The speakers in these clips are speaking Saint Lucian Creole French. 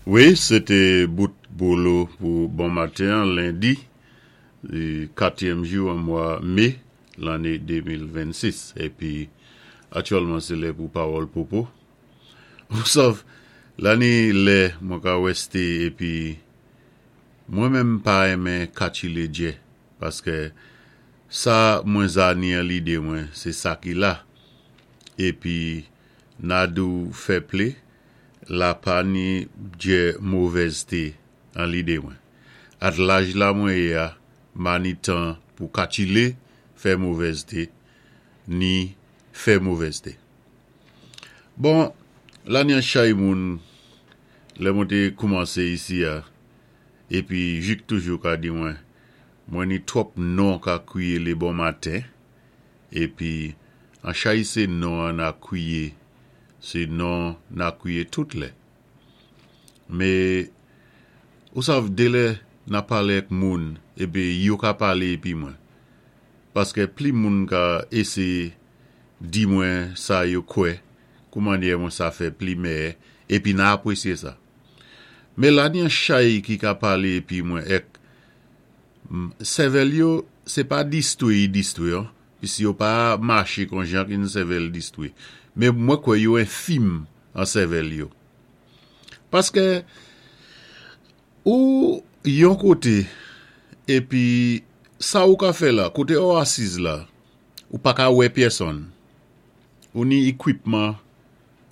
Wi, se té bout Bolo pou bon maten an, lendi, katyèm jou an mwa me, lanné 2026. Épi, aktyèlman sé lè pou pawòl popo. Ou sav, la ni lè mwen ka wèste épi mwen menm m pa renmen katchile djè, paskè sa mwen za ni an lide mwen se sa ki la. Épi na di w fè ple la pa ni bgy movèz te an lide mwen. At laj la mwen ye a ma ni tan pou katchile fè movèz te ni fè movèz te. Bon la ni an chay moun lè mwen te koumanse isi a epi jik toujou ka di mwen mwen ni twòp non ka kwiye le bon maten Epi, an chay se non an na kwiye, se non na kwiye tout lè. Me, ou sav delè na pale ak moun epi yo ka pale epi mwen. Paske pli moun ka eseye di mwen sa yo kwè, kou manyè mwen sa fè pli mèyè epi na apresye sa. Me la ni an chay ki ka pale epi mwen ek Sèvèl yo, se pa distwe yi distwe an, pis yo pa mache kon jan ki yn sèvèl distwe. Men mwen kwè yo enfim an sèvèl yo. Paske ou yon kote epi sa ou ka fè la, kote ou asiz la, ou pa ka wè pyèsonn. Ou ni ekwipman,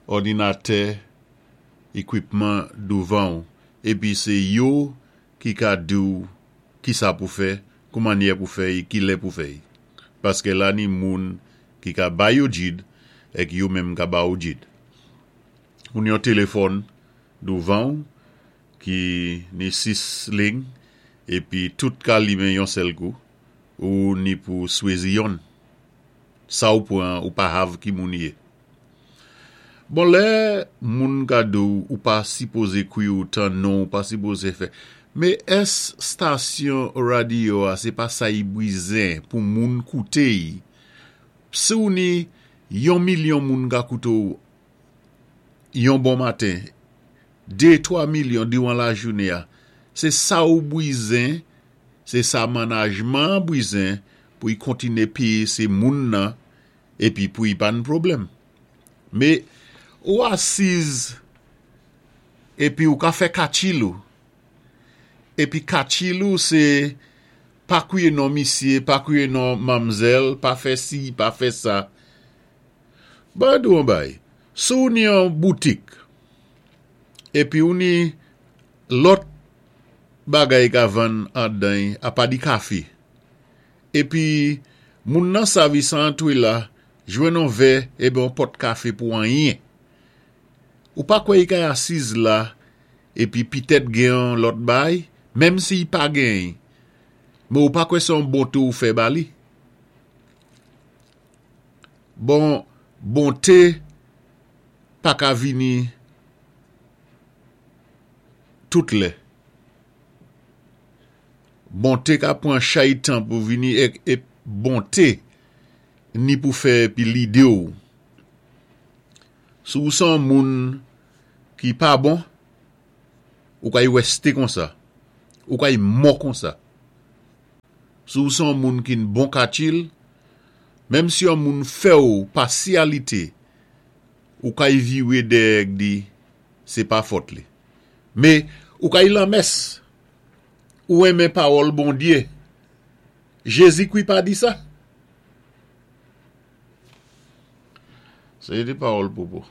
òdinatè, ekwipman douvan ou, epi se yo ki ka di w kisa pou fè, koumannyè pou fè y, kilè pou fè y. Paskè la ni moun ki ka bay yo djid èk yo menm ka ba ou djid. Ou ni yon telefòn douvan w ki ni 6 lign epi tout ka limen yon sèl kou, ou ni pou swezi yonn. Sa ou pran an ou pa hav ki moun ye. Bon lè moun ka di w ou pa sipoze kwi ou tan non ou pa sipoze fè me ès stasyon radio a se pa sa y brizen pou moun koute y si w ni yon milyon moun ka koute w yon bon maten de 3 milyon diwan lajounen a se sa ou brizen se sa manajman an brizen pou y kontine peye se moun nan epi pou y pa n pwoblèm. Me ou asiz epi ou ka fè katchil ou. Epi katchil ou se pa kwiye non misye, pa kwiye non manmzèl, pa fè si, pa fè sa. Ban di w yon bagay, si w ni yon boutik epi ou ni lòt bagay ka vann andan y apa di kafe. Epi moun nan sav i sa antre la jwenn on vè eben on pòt kafe pou anyen. Ou pa kwè i kay asiz la epi pitèt gen on lòt bay, menm si i pa gen men ou pa kwè se on bonte ou fè ba li. Bon, bonte pa ka vini tout lè. Bonte ka pran chay tan pou vini ek ep bonte ni pou fè epi lide w. Si w se yon moun ki pa bon, ou kay weste konsa, ou kay mò konsa. Si w se yon moun ki n bon katil, menm si yon moun fè w pasyalite, ou kay vire dèyè ek di se pa fòt li. Me ou kay lanmès. Ou renmen pawòl Bondye. Jezikri pa di sa? Se te pawòl popo.